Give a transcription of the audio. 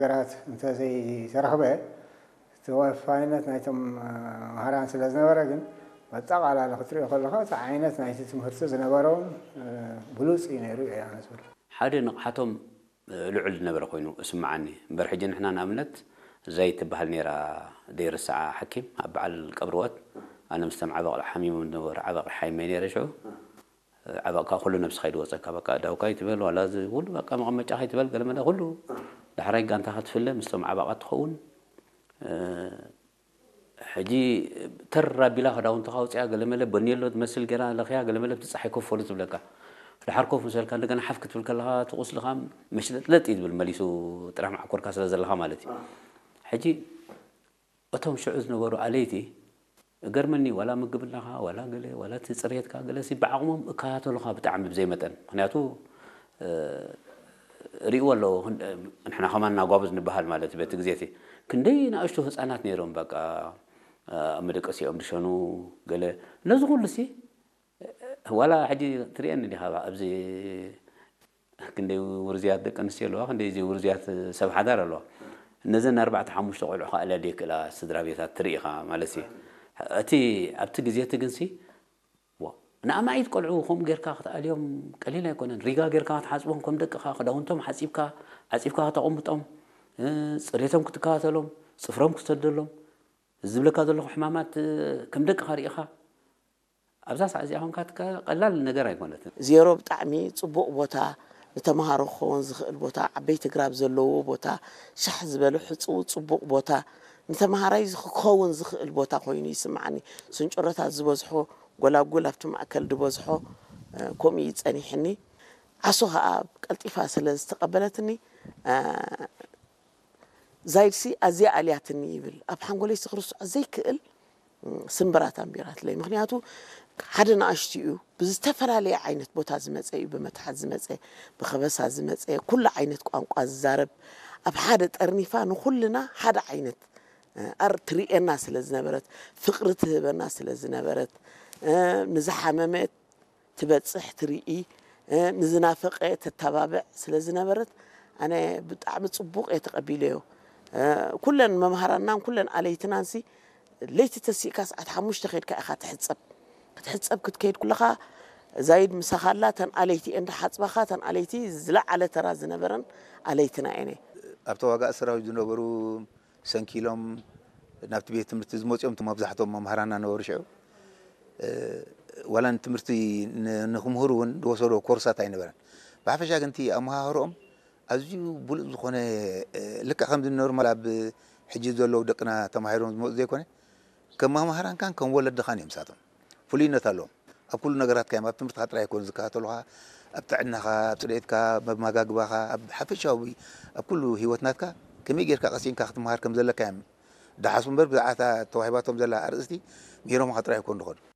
ነገራት እንተዘይተረኽበ፣ ተወፋይነት ናይቶም መሃራን ስለ ዝነበረ ግን፣ በጠቓላላ ክትሪኦ ከለኻ፣ እቲ ዓይነት ናይቲ ትምህርቲ ዝነበሮም ብሉጽ እዩ ነይሩ እየ ኣነ ዝብል። ሓደ ንቕሓቶም ልዑል ዝነበረ ኮይኑ እስምዓኒ። እምበር ሕጂ ንሕና ንኣብነት፣ ዘይትበሃል ነይራ ዘይርስዓ ሓኪም ኣብ በዓል ቀብርወት፣ ኣነ ምስቶም ዓበቕ ሓሚሞም ዝነበሩ ዓበቕ ሓይመይ ነይረ ሽዑ። ዓበቕካ ኩሉ ነብስኻ ይድወፀካ። በቃ ዳውካ ይትበል ዋላ እዚ ኩሉ በቃ መቐመጫኻ ይትበል ገለመለ ኩሉ ዳሕራይ ጋንታኻ ትፍለ ምስቶም ዓባቓት ትኸውን። ሕጂ ተር ኣቢላ ክዳውንትኻ ኣውፅያ ገለመለ በኔሎ ትመስል ገይራ ለኽያ ገለመለ ብቲ ፀሓይ ኮፍ በሉ ትብለካ። ድሓር ኮፍ ምስ በልካ እንደገና ሓፍ ክትብል ከለኻ እቲ ቁስልኻ መሽለጥለጥ እዩ ዝብል መሊሱ ጥራሕ መዓኮርካ ስለ ዘለኻ ማለት እዩ። ሕጂ እቶም ሽዑ ዝነበሩ ኣለይቲ እገርመኒ ዋላ ምግብናኻ ዋላ ገለ ዋላ እቲ ፅሬትካ ገለሲ ብዓቕሞም እከታተሉኻ ብጣዕሚ ብዘይ መጠን ምክንያቱ ርእይዎ ኣለዎ። ንሕና ከማን እናጓብዝ ንበሃል ማለት በቲ ግዜ እቲ ክንደይ ንኣሽቱ ህፃናት ነይሮም በቃ ኣብ መደቀሲኦም ድሸኑ ገለ ነዚ ኩሉ ሲ ዋላ ሕጂ ትርእየኒ ዲኻ ኣብዚ ክንደይ ውርዝያት ደቂ ኣንስትዮ ኣለዋ ክንደይ እዚ ውርዝያት ሰብ ሓዳር ኣለዋ። እነዘን ኣርባዕተ ሓሙሽተ ቆልዑ ከዓ ኣለደ ክእላ ስድራ ቤታት ትርኢ ኢኻ ማለት እዩ። እቲ ኣብቲ ግዜ እቲ ግንሲ ንኣማኢት ቆልዑ ከምኡ ጌርካ ክትኣልዮም ቀሊል ኣይኮነን። ሪጋ ጌርካ ክትሓፅቦም ከም ደቅኻ ክዳውንቶም ሓፂብካ ዓፂብካ ከተቐምጦም ፅሬቶም ክትከታተሎም ፅፍሮም ክትሰደሎም ዝብለካ ዘለኹ ሕማማት ከም ደቅኻ ርኢኻ ኣብዛ ሰዓት እዚኣ ኮንካ ቀላል ነገር ኣይኮነትን። ዜሮ ብጣዕሚ ፅቡቕ ቦታ ንተምሃሮ ክኸውን ዝኽእል ቦታ ዓበይቲ ግራብ ዘለዎ ቦታ ሻሕ ዝበለ ሕፅው ፅቡቕ ቦታ ንተምሃራይ ክኸውን ዝኽእል ቦታ ኮይኑ ይስምዓኒ። ስንጭሮታት ዝበዝሖ ጎላጉል ኣብቲ ማእከል ዝበዝሖ ከምኡ እዩ ፀኒሕኒ። ዓሶ ከዓ ቀልጢፋ ስለ ዝተቐበለትኒ ዛይድሲ ኣዝያ ኣልያትኒ ይብል ኣብ ሓንጎለይ ስኽርሱ ዘይክእል ስምብራት ኣንቢራትለይ ምኽንያቱ ሓደ ንኣሽቱ እዩ ብዝተፈላለየ ዓይነት ቦታ ዝመፀ እዩ ብመትሓት ዝመፀ ብኸበሳ ዝመፀ ኩሉ ዓይነት ቋንቋ ዝዛረብ ኣብ ሓደ ጠርኒፋ ንኹልና ሓደ ዓይነት ኣር ትርእየና ስለ ዝነበረት ፍቕሪ ትህበና ስለ ዝነበረት ንዝሓመመ ትበፅሕ ትርኢ ንዝናፈቐ ተተባብዕ ስለ ዝነበረት ኣነ ብጣዕሚ ፅቡቕ እየ ተቐቢለዮ። ኩለን መምሃራናን ኩለን ኣለይትናንሲ ለይቲ ተሲእካ ሰዓት ሓሙሽተ ከይድካ ኢኻ ትሕፀብ ክትሕፀብ ክትከይድ ኩለኻ ዛይድ ምሳኻ ኣላ ተን ኣለይቲ እየን ዝሓፅባኻ ተን ኣለይቲ ዝለዓለ ተራ ዝነበረን ኣለይትና እየን እየ። ኣብ ተዋጋእ ሰራዊት ዝነበሩ ሰንኪሎም ናብቲ ቤት ትምህርቲ ዝመፅኦም መብዛሕቶም መምሃራና ነበሩ ሽዑ ዋላ ንትምህርቲ ንክምህሩ እውን ዝወሰዶ ኮርሳት ኣይነበረን። ብሓፈሻ ግን እቲ ኣመሃህርኦም ኣዝዩ ብሉፅ ዝኾነ ልክዕ ከምዚ ኖርማል ኣብ ሕጂ ዘለዉ ደቅና ተማሂሮም ዝመፁ ዘይኮነ ከም መምሃራንካን ከም ወለድኻን እዮም ንሳቶም ፍሉይነት ኣለዎም። ኣብ ኩሉ ነገራትካ እዮም ኣብ ትምህርትካ ጥራይ ኣይኮኑ ዝከታተሉኻ ኣብ ጥዕናኻ ኣብ ፅሬትካ ኣብ መማጋግባኻ ኣብ ሓፈሻዊ ኣብ ኩሉ ሂወት ናትካ ከመይ ጌርካ ቀሲንካ ክትመሃር ከም ዘለካ እዮም ደሓሱ እምበር ብዛዕባ ተዋሂባቶም ዘላ ኣርእስቲ ምሂሮምኻ ጥራይ ኣይኮኑ ዝኸዱ።